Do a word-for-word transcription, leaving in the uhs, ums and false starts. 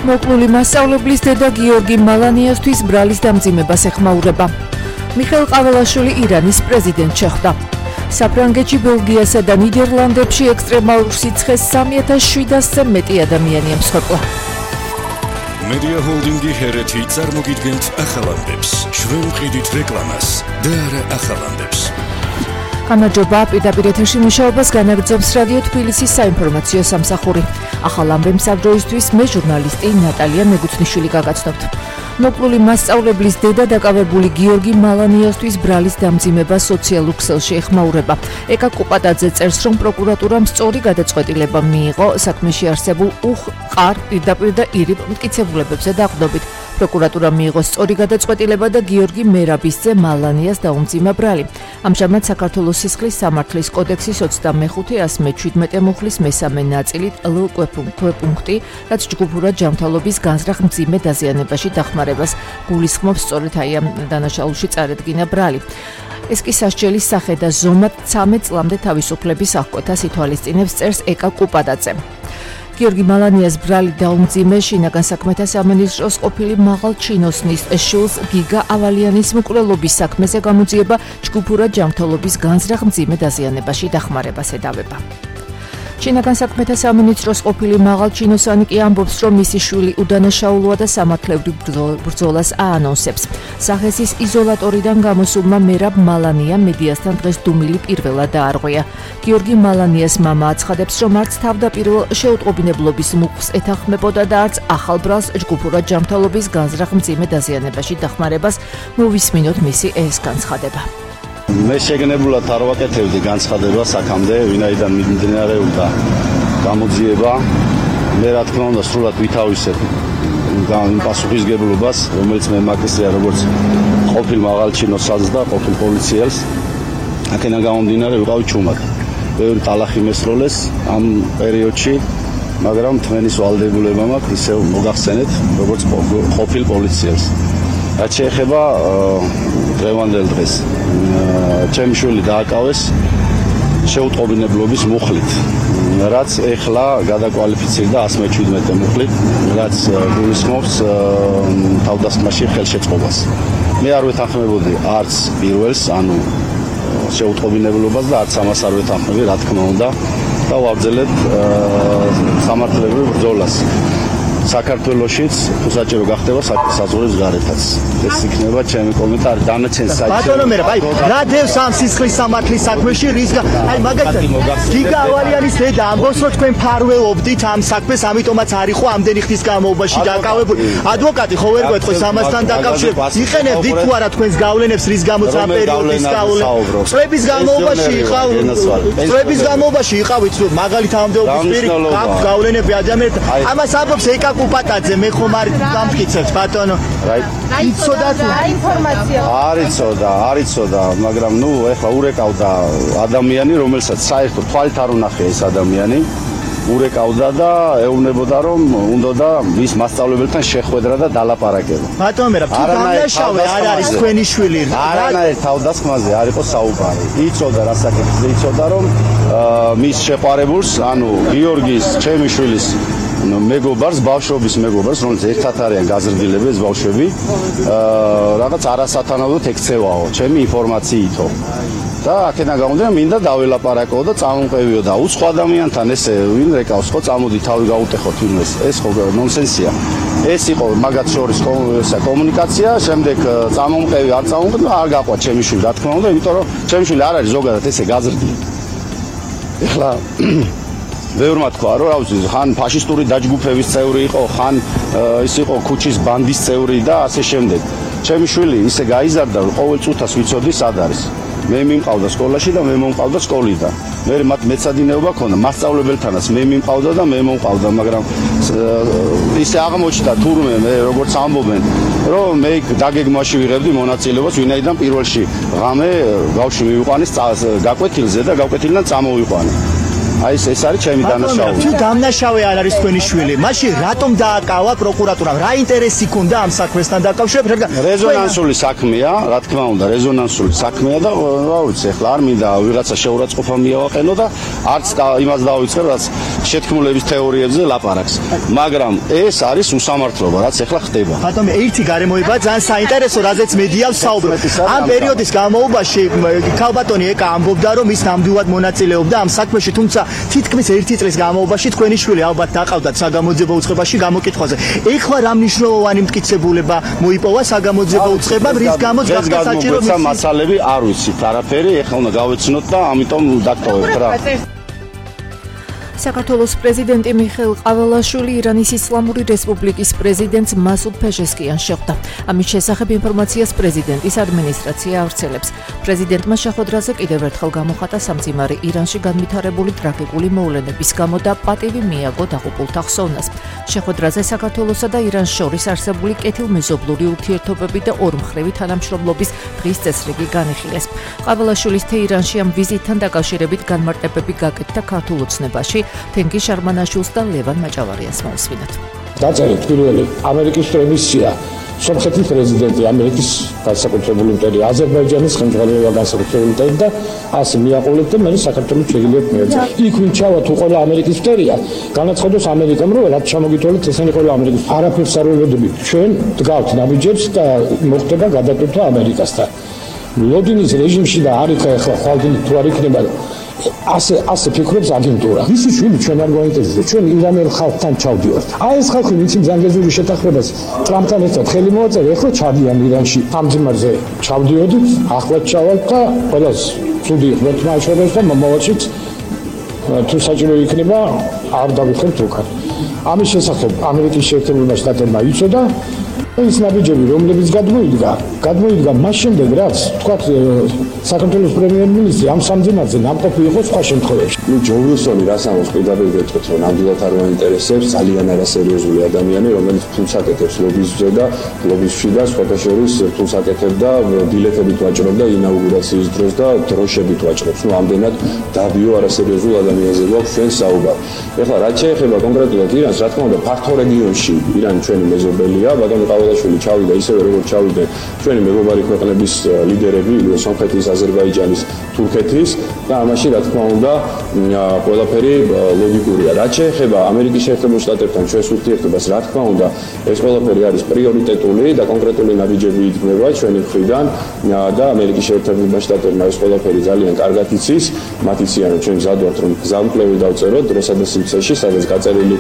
მოკლული მასწავლებლის დედა გიორგი მალანიასთვის ბრალის დამძიმებას ეხმაურება. მიხეილ ყაველაშვილი ირანის პრეზიდენტ შეხვდა. საფრანგეთში, ბელგიასა და ნიდერლანდებში ექსტრემალურ სიცხეს სამი ათას შვიდასზე მეტი ადამიანია მსხვერპლა. Media Holdingi ჰერეთი წარმოგიდგენთ ახალამდებს. ჩვენ ვყიდით რეკლამას და არა ახალამდებს. გამარჯობა, პირდაპირ ეთერში მუშაობას განაგრძობს რადიო თბილისის საინფორმაციო სამსახური. ახალ ამბებს საბჭოისთვის მე ჟურნალისტი ნატალია მეგუცნიშვილი გაგაცნობთ. მოკლული მასწავლებლის დედა დაკავებული გიორგი მალანიასთვის ბრალის დამძიმება სოციალურ ქსელში ეხმაურება. ეკა კუპატაძე წერს, რომ პროკურატურამ სწორი გადაწყვეტილება მიიღო საქმეში არსებულ უყარ პირდაპირ და ირიბ მტკიცებულებებზე დაყრდნობით. პროკურატურა მიიღო სწორი გადაწყვეტილება და გიორგი მერაბის ძე მალანიას დაუმძიმა ბრალი. ამჟამად საქართველოს სისხლის სამართლის კოდექსის ოცდამეხუთე ასი მეჩვიდმეტე მუხლის მესამე ნაწილით ლ კვეპუნქტი, რაც ჯგუფურად ჯანმრთელობის განზრახ მძიმე დაზიანებაში დახმარებას გულისხმობს, სწორედ აი ამ დანაშაულში წარედგინა ბრალი. ეს კი სასჯელის სახე და ზომად ცამეტ წლამდე თავისუფლების აღკვეთას ითვალისწინებს, წერს ეკა კუპატაძე. გიორგი მალანიას ბრალი დაუმძიმე შინაგან საქმეთა სამინისტროს ყოფილი მაღალ ჩინოსნის შულს გიგა ავალიანის მკვლელობის საქმეზე გამოძიება ჯგუფურად ჯანმრთელობის განზრახ მძიმე დაზიანებაში დახმარებას ედავება. შინაგან საქმეთა სამინისტროს ყოფილი მაღალ ჩინოსანი კი ამბობს, რომ მისი შვილი უდანაშაულოა და სამართლებრივ ბრძოლას აანონსებს. სახესის იზოლატორიდან გამოსულმა მერაბ მალანია მედიასთან დღეს დუმილი პირველად დაარღვია. გიორგი მალანიას მამა აცხადებს, რომ არც თავდაპირველ შეუტყობინებლობის მუხლს ეთანხმებოდა და არც ახალ ბრალს ჯგუფურად ჯანმრთელობის განზრახ მძიმე დაზიანებაში დახმარებას მოვისმინოთ მისი ეს განცხადება. მე შეგნებულად არ ვაკეთებდი განცხადებას აქამდე, ვინაიდან მიმდინარეობდა გამოძიება. მე რა თქმა უნდა სრულად ვითავისებ იმ პასუხისგებლობას, რომელიც მე მაკისია როგორც ყოფილ მაღალჩინოსას და ყოფილ პოლიციელს. აქედან გამომდინარე ვიყავი ჩუმად. ბევრი ტალახი მესროლეს ამ პერიოდში, მაგრამ თქვენის ვალდებულება მაქვს ისევ მოგახსენეთ, როგორც ყოფილ პოლიციელს. რაც შეეხება დღევანდელ დღეს, ჩემი შვილი დააკავეს შეუტყობინებლობის მუხლით, რაც ეხლა გადაკვალიფიცირდა ასი მეჩვიდმეტე მუხლით, რაც გულისხმობს თავდასხმაში ხელშეწყობას. მე არ ვეთანხმებოდი არც პირველს, ანუ შეუტყობინებლობას და არც ამას არ ვეთანხმები, რა თქმა უნდა, და ვაგრძელებ სამართლებრივ ბრძოლას. საქართველოშიც თუ საჭირო გახდება საზღვრის გარეთაც. ეს იქნება ჩემი კომენტარი დანარჩენ საერთოდ. ბატონო მერაბ, აი რა დევს ამ სისხლის სამართლის საქმეში რის აი მაგალითად გიგა ავალიანის დედა ამბობს, რომ თქვენ ფარველობდით ამ საქმეს, ამიტომაც არ იყო ამდენი ხნის განმავლობაში დაკავებული. ადვოკატი ხო ვერ გვეთქვეს ამასთან დაკავშირებით. იყენებდით თუ არა თქვენს გავლენებს, რის გამოც ამ პერიოდის გავლენებს. წლების განმავლობაში იყავ, წლების განმავლობაში იყავით, მაგალითად ამდეობის პირი გაქვთ გავლენები ადამიანებს. ამას ამბობს ეკა კუპატაძე, მე ხომ არ დამტკიცებთ ბატონო. იცოდა თუ ინფორმაცია არ იცოდა, არ იცოდა, მაგრამ ნუ ეხლა ურეკავდა ადამიანი, რომელსაც საერთოდ თვალით არ უნახია ეს ადამიანი. ურეკავდა და ეუბნებოდა, რომ უნდოდა მის მასწავლებელთან შეხვედრა და დალაპარაკება. ბატონო მერაბ, თუ დამნაშავე არ არის თქვენი შვილი, არანაირ თავდასხმაზე არ იყო საუბარი. იცოდა რა საკითხზე, იცოდა რომ მის შეყვარებულს, ანუ გიორგის, ჩემი შვილის მეგობარს, ბავშვობის მეგობარს, რომელიც ერთად არიან გაზრდილები ეს ბავშვები, რაღაც არასათანადოდ ექცევაო, ჩემი ინფორმაციითო. და აქედან გამომდინარე, მინდა დაველაპარაკო და წამომყევიო და უცხო ადამიანთან ესე ვინ რეკავს, ხო წამოდი თავი გაუტეხოთ ვინმეს. ეს ხო ნონსენსია. ეს იყო მაგათ შორის კომუნიკაცია, შემდეგ წამომყევი არ წამომყევი არ გაყვა ჩემი შვილი, რა თქმა უნდა, იმიტომ რომ ჩემი შვილი არ არის ზოგადად ესე გაზრდილი. ეხლა ბევრმა თქვა, რომ რა ვიცი, ხან ფაშისტური დაჯგუფების წევრი იყო, ხან ის იყო ქუჩის ბანდის წევრი და ასე შემდეგ. ჩემი შვილი ისე გაიზარდა, რომ ყოველ წუთას ვიცოდი სად არის. მე მიმყავდა სკოლაში და მე მომყავდა სკოლიდან. მე მათ მეცადინეობა ქონდა, მასწავლებელთანაც მე მიმყავდა და მე მომყავდა, მაგრამ ისე აღმოჩნდა თურმე მე როგორც ამბობენ, რომ მე დაგეგმვაში ვიღებდი მონაწილეობას, ვინაიდან პირველში ღამე ბავშვი მივიყვანეს გაკვეთილზე და გაკვეთილიდან წამოვიყვანე. აი ეს ეს არის ჩემი დანაშაული. თუ დამნაშავე არ არის თქვენი შვილი, მაშინ რატომ დააკავა პროკურატურამ? რა ინტერესი ქონდა ამ საქმესთან დაკავშირებით? რეზონანსული საქმეა, რა თქმა უნდა, რეზონანსული საქმეა და რა ვიცი, ახლა არ მინდა ვიღაცა შეურაცხყოფა მიავაყენო და არც იმას დავიწყებ, რაც შეთქმულების თეორიებზე ლაპარაკს. მაგრამ ეს არის უსამართლობა, რაც ახლა ხდება. ბატონო, ერთი გარემოება ძალიან საინტერესო, რაზეც მედია ვსაუბრობ. ამ პერიოდის განმავლობაში ქალბატონი ეკა ამბობდა, რომ ის ნამდვილად მონაწილეობდა ამ საქმეში, თუმცა თითქმის ერთი წლის განმავლობაში თქვენი შვილი ალბათ დაყავდათ საგამოძიებო უწყებაში გამოკითხვაზე. ეხლა რა მნიშვნელოვანი მტკიცებულება მოიპოვა საგამოძიებო უწყებამ, რის გამოც გახდა საჭირო მის მასალები არ ვიცით არაფერი, ეხლა უნდა გავეცნოთ და ამიტომ დაგტოვებთ რა. საქართველოს პრეზიდენტი მიხეილ ყაველაშვილი ირანის ისლამური რესპუბლიკის პრეზიდენტს მასუდ ფეჟესკიანს შეხვდა. ამის შესახებ ინფორმაციას პრეზიდენტის ადმინისტრაცია ავრცელებს. პრეზიდენტმა შეხვედრაზე კიდევ ერთხელ გამოხატა სამძიმარი ირანში განვითარებული ტრაგიკული მოვლენების გამო და პატივი მიაგო დაღუპულთა ხსოვნას. შეხვედრაზე საქართველოსა და ირანს შორის არსებული კეთილმეზობლური ურთიერთობები და ორმხრივი თანამშრომლობის დღის წესრიგი განიხილეს. ყაველაშვილის თეირანში ამ ვიზიტთან დაკავშირებით განმარტებები გაკეთდა ქართულ ოცნებაში. თენგი შარმანაშვილს და ლევან მაჭავარიანს მოусვინათ. დაწერეთ პირველი ამერიკის პრემისია სომხეთის პრეზიდენტი ამერიკის განსაკუთრებული მტერი აზერბაიჯანის ხელმძღვანელობა განსაკუთრებული მტერი და ასე მიაყოლეთ და მე საქართველოს შეგიძლიათ მიეცა. იქ ვინ ჩავა თუ ყველა ამერიკის მტერია განაცხადოს ამერიკამ რომ რაც ჩამოგითვალეთ ესენი ყველა ამერიკის არაფერს არ ველოდებით ჩვენ დგავთ ნაბიჯებს და მოხდება გადატვირთვა ამერიკასთან. ლოდინის რეჟიმში და არის ახლა ხვალდილი თუ არ იქნება ასე ასე ფიქრობს აგენტურა. ისი შვილი ჩვენ არ გვაინტერესებს. ჩვენ ირანელ ხალხთან ჩავდივართ. აი ეს ხალხი ვიცი ზანგეზური შეთანხმებას ტრამპთან ერთად ხელი მოაწერა, ეხლა ჩადიან ირანში. ამ ძიმარზე ჩავდიოდით, ახლა ჩავალთ და ყველას ცუდი ხმეთ მაჩვენებს და მომავალშიც თუ საჭირო იქნება არ დავიხებთ უკან. ამის შესახებ ამერიკის შეერთებულმა შტატებმა იცოდა ეს ნაბიჯები რომლებიც გადმოიდგა, გადმოიდგა მას შემდეგ რაც თქვა საქართველოს პრემიერ-მინისტრი ამ სამძიმარზე ნამყოფი იყო სხვა შემთხვევებში. ნუ ჯო ვილსონი რას ამბობს პირდაპირ გეტყვით რომ ნამდვილად არ მაინტერესებს ძალიან არასერიოზული ადამიანი რომელიც ფულს აკეთებს ლობიზმზე და ლობიზმში და სხვათა შორის ფულს აკეთებდა ბილეთებით ვაჭრობდა ინაუგურაციის დროს და დროშებით ვაჭრობს. ნუ ამდენად დაბიო არასერიოზულ ადამიანზე გვაქვს ჩვენ საუბარი. ეხლა რაც შეეხება კონკრეტულად ირანს, რა თქმა უნდა ფართო რეგიონში ირანი ჩვენი მეზობელია, ბატონო ყაველაშვილი ჩავიდა ისევე როგორც ჩავიდნენ ჩვენი მეგობარი ქვეყნების ლიდერები, სომხეთის, აზერბაიჯანის, თურქეთის და ამაში რა თქმა უნდა ყველაფერი ლოგიკურია. რაც შეეხება ამერიკის შეერთებულ შტატებთან ჩვენს ურთიერთობას, რა თქმა უნდა ეს ყველაფერი არის პრიორიტეტული და კონკრეტული ნაბიჯები იქმნება ჩვენი მხრიდან და ამერიკის შეერთებულმა შტატებმა ეს ყველაფერი ძალიან კარგად იცის. მათ იციან რომ ჩვენ გზად ვართ რომ გზამკვლევი დავწეროთ დროსა და სივრცეში, სადაც გაწერილი